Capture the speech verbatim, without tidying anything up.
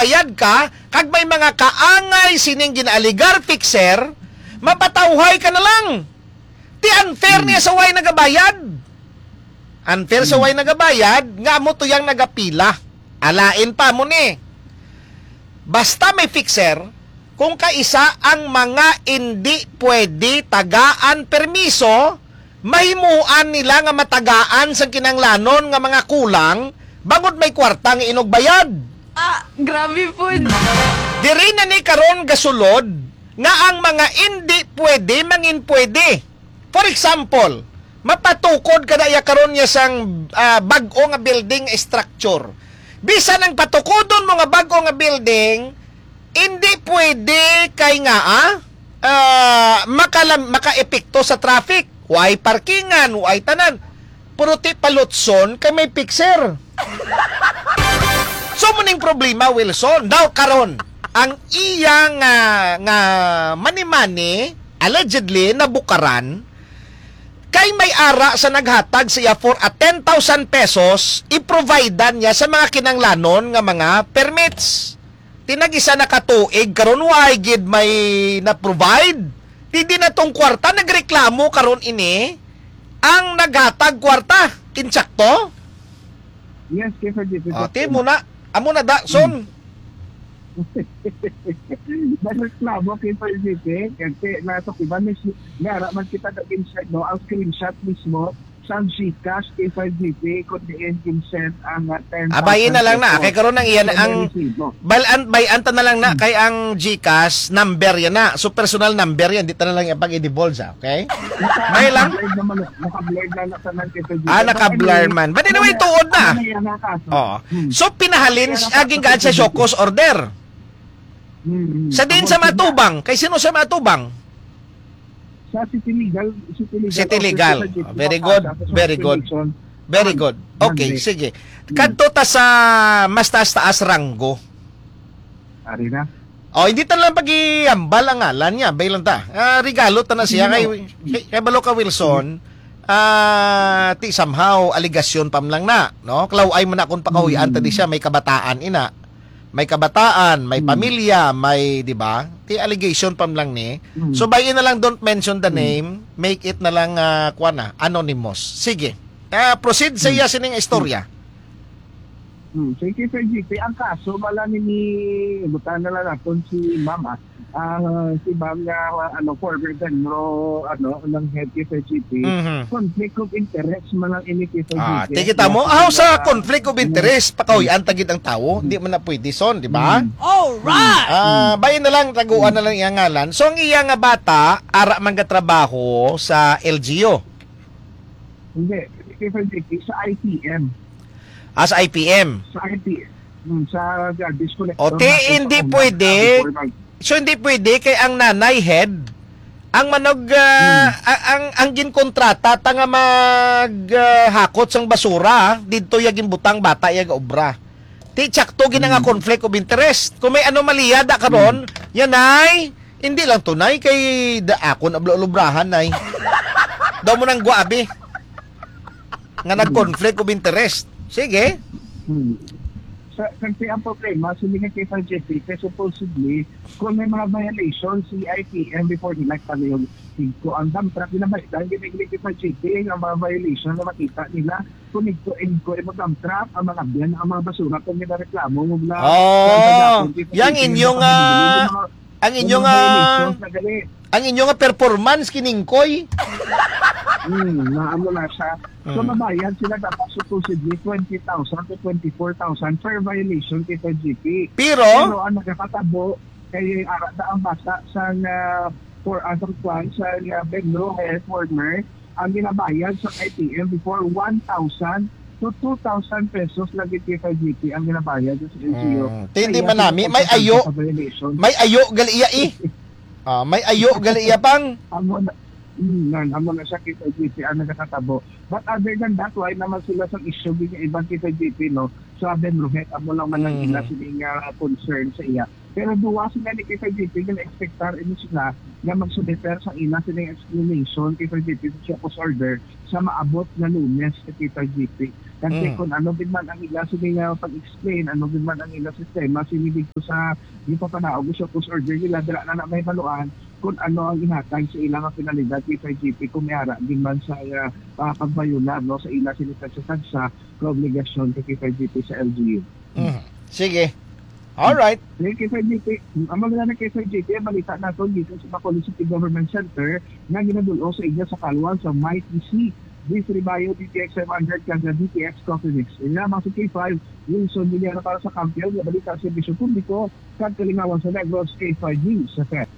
bayad ka, kag may mga kaangay sining ginaaligar fixer, mapatawhay ka na lang. Ti unfair Hmm. niya sa way nagabayad. Unfair sa Hmm. way nagabayad, nga amo to yang nagapila. Alain pa mo ni. Basta may fixer, kung kaisa ang mga indi pwede tagaan permiso, mahimuan nila nga matagaan sang kinanglanon nga mga kulang bangod may kwarta nga inugbayad. Ah, grabe po. Diri na ni karon gasulod nga ang mga indi pwede mangin pwede. For example, mapatukod ka na iya karon niya sang, ah, bag-o nga building structure. Bisan ang patukodon mo nga bag-o nga building, hindi pwede kay nga, ah, ah, makalam-, makaepekto sa traffic. Way parkingan, way tanan. Pero ti palutson kay may fixer. So, muning problema, Wilson. Daw karon, ang iya nga, nga mani-mani, allegedly, nabukaran, kay may ara sa naghatag sa iya for a ten thousand pesos, i-providean niya sa mga kinanglanon nga mga permits. Tinag isa na ka tuig, karon way gid may na-provide. Di, di na tong kwarta, nagreklamo karon ini ang naghatag kwarta. Insakto? Yes, K five G P. Ah, ti mo na. Amo na da, son. Nagreklamo, K five G P. Kasi nato, iba, mis-, nara man kita nag-insert, no? Ang screenshot mismo sa GCash, K five G P, kung diin ginsend ang, ah, ten thousand Abayin na lang na. Kay karon ang iyan, ang resibo. Bayan, bayan ta na lang na. Hmm. Kay ang GCash number yan na. So, personal number yan. Di ta na lang yan pag-i-divulge, ah. Okay? Naka-, May lang? naka-blur naman, naka-blur na lang tanan kay Pwede. Ah, naka-blur man. But anyway, tuod na. Ano na yan ang kaso? Oo. Hmm. So, pinahalin, Kaya aging gaan sa show cause order. Hmm, hmm. Sa din Tapos sa yun na. Matubang. Kay sino sa Matubang? Sa City Legal, City Legal City Office Legal. Sa City Ah, very Legal good, Office of very good. Probation. Very Yan. good. Okay, Yan, sige. Hmm. Kadto ta sa mas taas-taas ranggo. Ari na. Oh, hindi ta lang pag-iambal ang ngalan niya. Bay lang ta. Ah, regalo ta na siya kay, Hindi. kay, kay Balo ka Wilson. Ah, ti somehow, aligasyon pa man lang na, no? Klaway man na kung pakahuyan ta di Hmm. siya, may kabataan ina. May kabataan, may Hmm. pamilya, may, di ba? Ti allegation pa man lang ni. Hmm. So, bay na lang, don't mention the Hmm. name. Make it na lang, ah, kuwan na, anonymous. Sige. Ah, proceed sa Hmm. iya sining istorya. Hmm, sige, Sir G P, ang kaso, wala ni, ni, buta na lang naton si Ma'am, ah. Ah, si Ma'am nga, ah, ano, former Benro, ano, ng head kay Sir G P. Mhm. Conflict of interest man lang ini kay Sir Ah, G P. Tikita mo, Yes, aw sa ah, conflict of mm. interest, pakahuyan ta gid ang tawo, hindi man na pwede, son, di ba? Mm. Alright! Ah, Mm. bay na lang, taguan Mm. na lang iyang ngalan. So, ang iya nga bata, ara man gatrabaho sa L G U. Hindi, kay Sir G P, sa I T M. Ah, sa I P M. Sa I P M. Hmm, sa garbage collector O, ti, na hindi kung pwede. Before mag- So, hindi pwede kay ang nanay head, ang manog, ah, Hmm. a-, ang, ang ginkontrata ta nga mag, ah, hakot sang basura, didto ya ginbutang bata ya gaobra. Ti, tsakto gid nga Hmm. conflict of interest. Kung may anomalya da karon, Hmm. yan ay, hindi lang to, nay, kay da, akon ablo-lubrahan, nay. Daw mo nang gwabi. Nga nag-conflict of interest. Sige. Hmm. Sa, kasi ang problema, sila nga kay Sir Jeffrey, kay supposedly, kung may mga violation, si I P M before nila kami yung ko ang dump truck, ginabaydan, giniglig kay Sir Jeffrey, ang mga violation na makita nila, kung igko, igko, imo dump truck, ang mga biyan, ang mga basura, kung ginareklamo, mo na, Oh, sa, sa, yang inyo nga, ang inyo nga, ang inyo nga performance kiningkoy. Hmm, naamo na siya. So, Hmm. mabayad sila dapat supposedly twenty thousand to twenty-four thousand per violation kay Sir G P. Pero? Pero ang nagkakatabo, kay ara na ang bata sa, ah, for, ah, sa kwan, sa, ah, Benro, eh, former, ang ginabayad sa I P M before, one thousand to two thousand pesos lagi kay Sir G P ang ginabayad sa L G U. Hmm. Kaya Hindi man nami, may sila ayo. Sa violation. May ayo gali iya, eh. Ah, may ayo gali iya pang. Amo na, mm, nan, amo na siya kay Sir G P ang nagkakatabo. But other than that, why naman sila sa issue ng ibang kay Sir G P, no? Sa Ben Rohet, amo lang man ang Mm. ila sila nga concern sa iya. Pero duwa sila ni kay Sir G P, gina-expectar ini sila nga magsumiter sa ila sila explanation kay Sir G P sa show cause order sa maabot nga Lunes kay Sir G P. Kasi Mm. kung ano din man ang ila sini nga pag-explain, ano din man ang ila sistema, sini dito sa gipapanaog sa court order nila, dira na na may maluan kung ano ang ihatag sa ila nga penalidad kay K five G P kung may ara din man sa ah, pagbayunar, no, sa ila sini tagsa-tagsa nga obligasyon kay K five G P sa L G U. Mhm. Sige. All right. Sige, K five G P, ang mga na K five G P, ang balita nato dito sa Bacolod City Government Center nga ginadul-ong sa inyo sa kalwang sa Mighty C, D three Bio, D T X five hundred, kag D T X Coffee Mix. Ini lamang si K five, Wilson Villar para sa Kampiyon nga Balita sa Serbisyo Publiko kag Kalingawan sa Negros, K five News F M.